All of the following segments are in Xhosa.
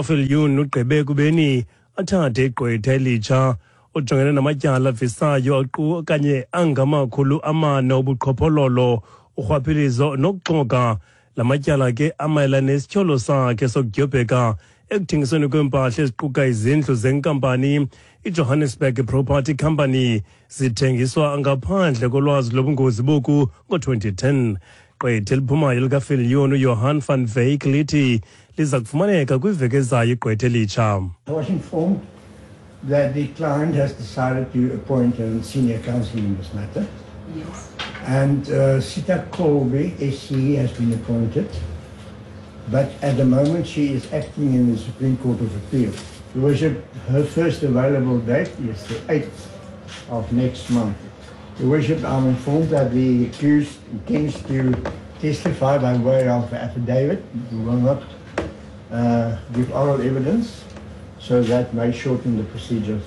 Viljoen ugqibe ekubeni athathe igqwetha elitsha ojongene namatyala avisayo okanye angama-400 obuqhophololo, urhwaphilizo nokuxoka. La matyala ke amayelana nesityholo sakhe sokudyobheka ekuthengisweni kweempahla eziquka izindlu zenkampani iJohannesburg Property Company zithengiswa ngaphandle kolwazi lobungozi boku ngo-2010. Gqwetha eliphumayo likaViljoen uJohan van Wyk lithi liza kufumaneka kwiveki ezayo igqwetha elitsha. I was informed that the client has decided to appoint a senior counsel in this matter. Yes. And Sita Colby, SC, has been appointed. But at the moment she is acting in the Supreme Court of Appeal. Your Worship, her first available date is the 8th of next month. Your Worship, I'm informed that the accused intends to testify by way of affidavit. He will not give oral evidence, so that may shorten the procedures.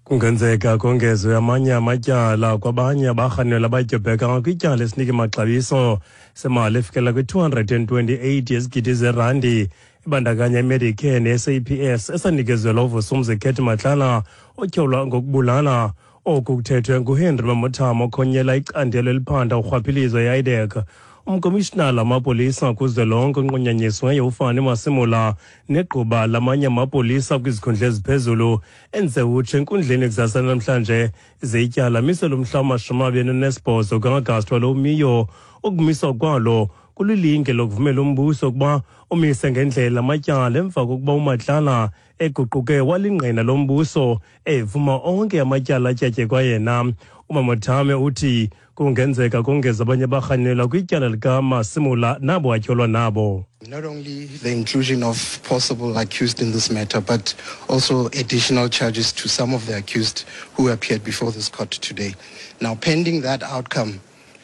Kungenzeka kongezwe amanye amatyala kwabanye abarhanelwa abadyobheka kwityala esinike maxabiso semali efikela kwi-228 yezigidi zerandi ibandakanya iMedicare ne-SAPS esanikezelwa uVusumuzi Cat Matlala otyholwa ngokubulala. Oku kuthethwe nguHenry Mamothama okhonyela icandelo eliphanda urhwaphilizo e-IDAC. Umkomishinala wamapolisa kuzwelonke onqunyanyisiweyo uFani Masemola negquba lamanye amapolisa kwizikhundla eziphezulu enze utsho enkundleni kusasa namhlanje ze ityala miselwe umhla wama-28 ka-Agasti walo umiyo. Ukumiswa kwalo kulilinge lokuvumela umbuso ukuba umise ngendlela amatyala emva kokuba uMatlala eguquke walingqina lombuso evuma onke amatyala atyatyekwa yena. UMamothame uthi kungenzeka kongeza abanye abarhanelwa kwityala likaMasemola nabo atyholwa nabo. Not only the inclusion of possible accused in this matter, but also additional charges to some of the accused who appeared before this court today. Now, pending that outcome,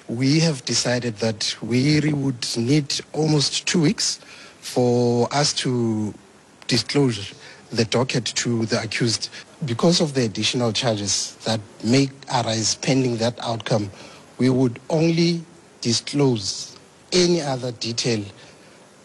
we have decided that we would need almost 2 weeks for us to disclose the docket to the accused. Because of the additional charges that may arise pending that outcome, we would only disclose any other detail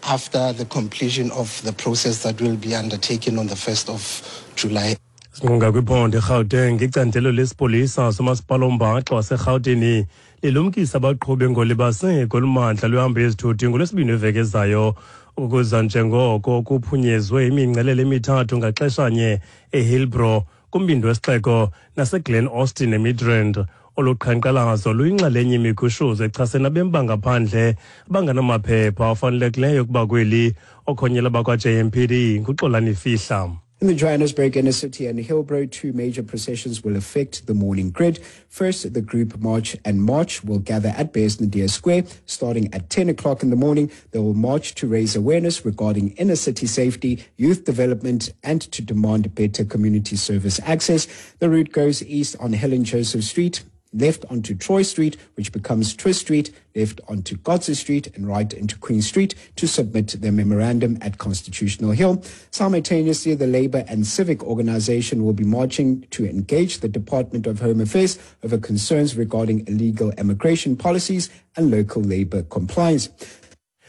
after the completion of the process that will be undertaken on the 1st of July. Sinqunga kwiphondo eGauteng, icandelo lesipolisa somasipala ombaxa waseRhawutini lilumkisa abaqhubi ngolibaseko olumandla lwehambo yezithuthi ngolwesibini weveki ezayo ukuza njengoko kuphunyezwe imingcelele emithathu ngaxeshanye eHillbrow kumbindi wesixeko naseGlen Austin eMidrand. Olu qhankqalazo luyinxalenye imigushuzo echasene nabemi bangaphandle abangenamaphepha afanelekileyo ukuba kweli. Okhonyela bakwa-JMPD nguXolani Fihla. In the Johannesburg inner city and Hillbrow, two major processions will affect the morning grid. First, the group March and March will gather at Beyers Naudé Square starting at 10 o'clock in the morning. They will march to raise awareness regarding inner city safety, youth development, and to demand better community service access. The route goes east on Helen Joseph Street, left onto Troy Street, which becomes Twist Street, left onto Kotze Street and right into Queen Street to submit their memorandum at Constitutional Hill. Simultaneously, the Labour and Civic Organisation will be marching to engage the Department of Home Affairs over concerns regarding illegal immigration policies and local labour compliance.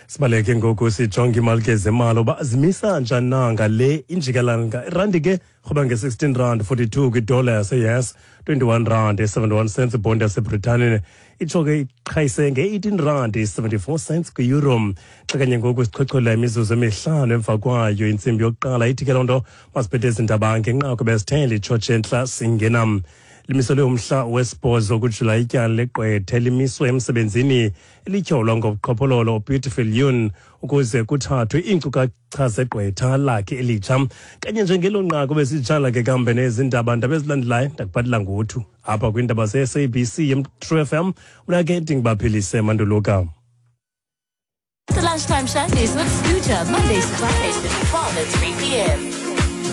Sibaleke ngoku sijonge imali ke zemali uba zimisa njani na ngale injikalanga. Irandi ke rhoba nge-16 rand 42 kwidola yase-US, 21 rand 71 cents ibhondi yaseBritane, itsho ke iqhayise nge-18 rand 74 cents kwi-euro. Xa kanye ngoku sichochola imizuzu emihlanu emva kwayo intsimbi yokuqala, ithi ke loo nto masiphethe ezi ndaba ngenqaku besithele itshotshe entla singena. Limiselwe umhla wesibhozo kuJulayi ityala legqwetha elimiswe emsebenzini elityholwa ngobuqhophololo uBeautiful Yun ukuze kuthathwe iinkcukacha zegqwetha lakhe elitsha. Kanye njengelo nqaku besitshala ke kambe nezi ndaba, ndaba ezilandelayo ndakuphathela ngothu apha kwiindaba ze-SABC True FM. Mna ke ndingubaphilise Manduluka. The Lunchtime Shandies with Scooter, Mondays to Fridays between 12 and 3 p.m.